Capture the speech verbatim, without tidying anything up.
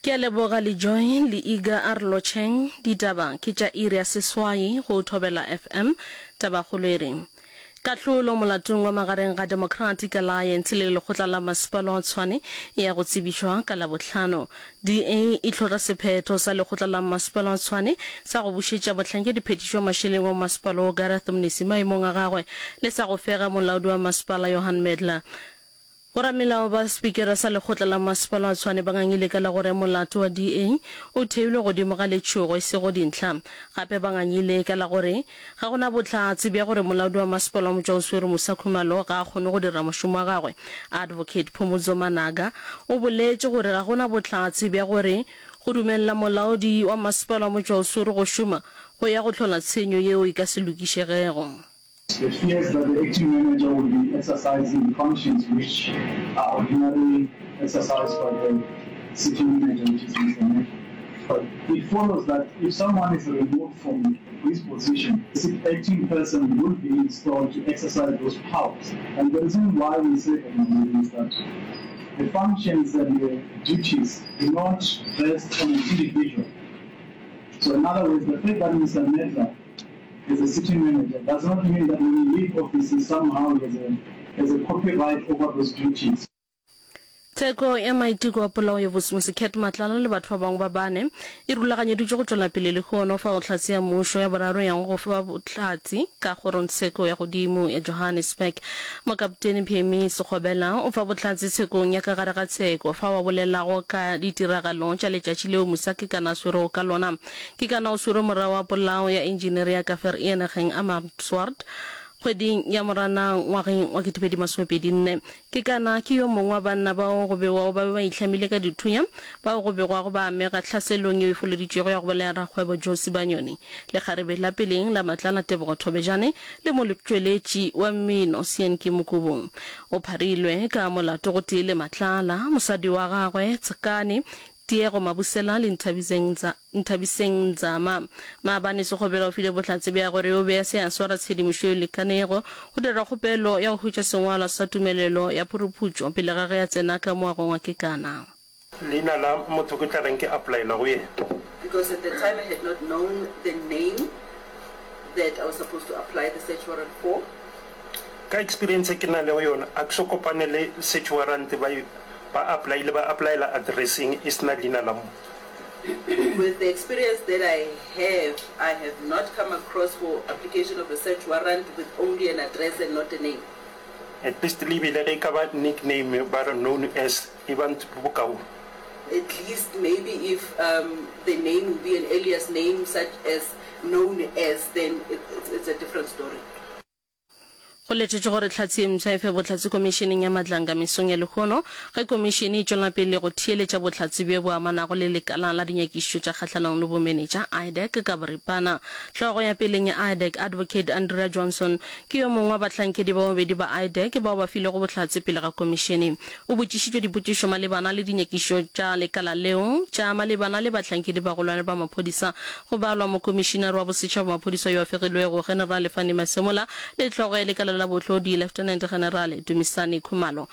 Ke a leboga le Joy le Iga a re lotšheng. Ditaba ke tša iri ya seswai go Thobela F M. Tabakgolo e re, Kahlolo molatong wa magareng ga Democratic Alliance le Lekgotla la Masepala wa Tshwane e ya go tsebišwa ka Labohlano. D A e hlotla sephetho sa Lekgotla la Masepala wa Tshwane sa go bušetša mohlankediphethiši wa mašeleng wa masepala wo Gareth Mnisi maemong a gagwe le sa go fega molaodi wa masepala Johan Medler. Boramelao ba Spikara sa Lekgotla la Masepala wa Tshwane ba ngangile ka la gore molato wa D A o theilwe godimo ga letšhogo e sego dintlha. Gape ba ngangile ka la gore ga go na bohlatse bja gore molaodi wa masepala wa Motšwaoswere Musa Khumalo ga a kgone go dira mošomo wa gagwe. Advocate Phumudzo Managa o boletše gore ga go na bohlatse bja gore go dumelela molaodi wa masepala wa Motšwaoswere go šoma go ya go hlola tshenyo yeo e ka se lokišegego. The fears that the acting manager will be exercising the functions which are ordinarily exercised by the city manager, which is Mister Medler. But it follows that if someone is removed from his position, the acting person will be installed to exercise those powers. And the reason why we say that, my lady, is that the functions and the duties do not rest on an individual. So in other words, the fact that Mister Medler is a city manager does not mean that when he leave office, he somehow has a, has a copyright over those duties. Tsheko ya maiteko a polao ya Vusimusi Cat Matlala le batho ba bangwe ba bane e rulaganyeditšwe go tšwela pele lehono fao hlatse ya mmušo ya boraro yang go fa bohlatse ka kgorongtsheko ya godimo ya Johannesburg. Mokaptene Phemi Sekgobela o fa bohlatse tshekong ya ka gare ga tsheko fao a bolelago ka ditiragalo tša letšatši leo Musa Kekana a swerwego ka lona. Kekana o swerwe morago ga polao ya engineer ya ka Vereeniging Amersfoort kgweding ya Moranang ngwageng wa ketepedi masomepedi nne. Kekana ke yo mongwe wa banna bao go begwago ba be ba itlhamile ka dithunya bao go begwago ba amega tlhaselong yeo e foleditšwego ya go bolaya rakgwebo Joe Sibanyoni, lekgarebe la peleng la Matlala Tebogo Thobejane le motšweletši wa mmino Seanki Mokubung. O pharilwe ka molato gotee le Matlala, mosadi wa gagwe Tsekane Tiego Mabusela le Nthabiseng Nzama. Maabane Sekgobela o file bohlatse bja gore o be a se a swara tshedimošo e lekanego go dira kgopelo ya go hwetša sengwalwa sa tumelelo ya phuruphutšo pele ga ge a tsena ka moagong wa Kekana. Leina la motho ke tla reng ke applyela go yena. Because at the time I had not known the name that I was supposed to apply the search warrant for. Ka experience e ke na lego yona, a ke so kopane le search warrant ba ba applyile ba applyela addresseng e se na leina la motho. With the experience that I have, I have not come across for application of a search warrant with only an address and not a name. At least le bile ge e ka ba nickname ba re known as e ba bokaone. At least maybe if um, the name will be an alias name such as known as, then it, it's, it's a different story. Go letetšwe gore Hlatse ye mpsha e fe bohlatse Komišeneng ya Madlanga mesong ya lehono ge komišene e tšwela pele go theeletša bohlatse bjo bo amanago le Lekala la Dinyakišišo tša Kgahlanong le Bomenetša, IDAC, ka boripana. Hlogo ya peleng ya IDAC, Advocate Andrea Johnson, ke yo mongwe wa bahlankedi ba babedi ba IDAC bao ba filego bohlatse pele ga komišene. O botšišitšwe dipotšišo malebana le dinyakišišo tša lekala leo tša malebana le bahlankedi bagolwane ba maphodisa, go balwa Mokomišinare wa Bosetšhaba wa Maphodisa yo a fegilwego, Generale Fannie Masemola, le hlogo ya lekala la bohlodi, Lieutenant Generale Dumisani Khumalo.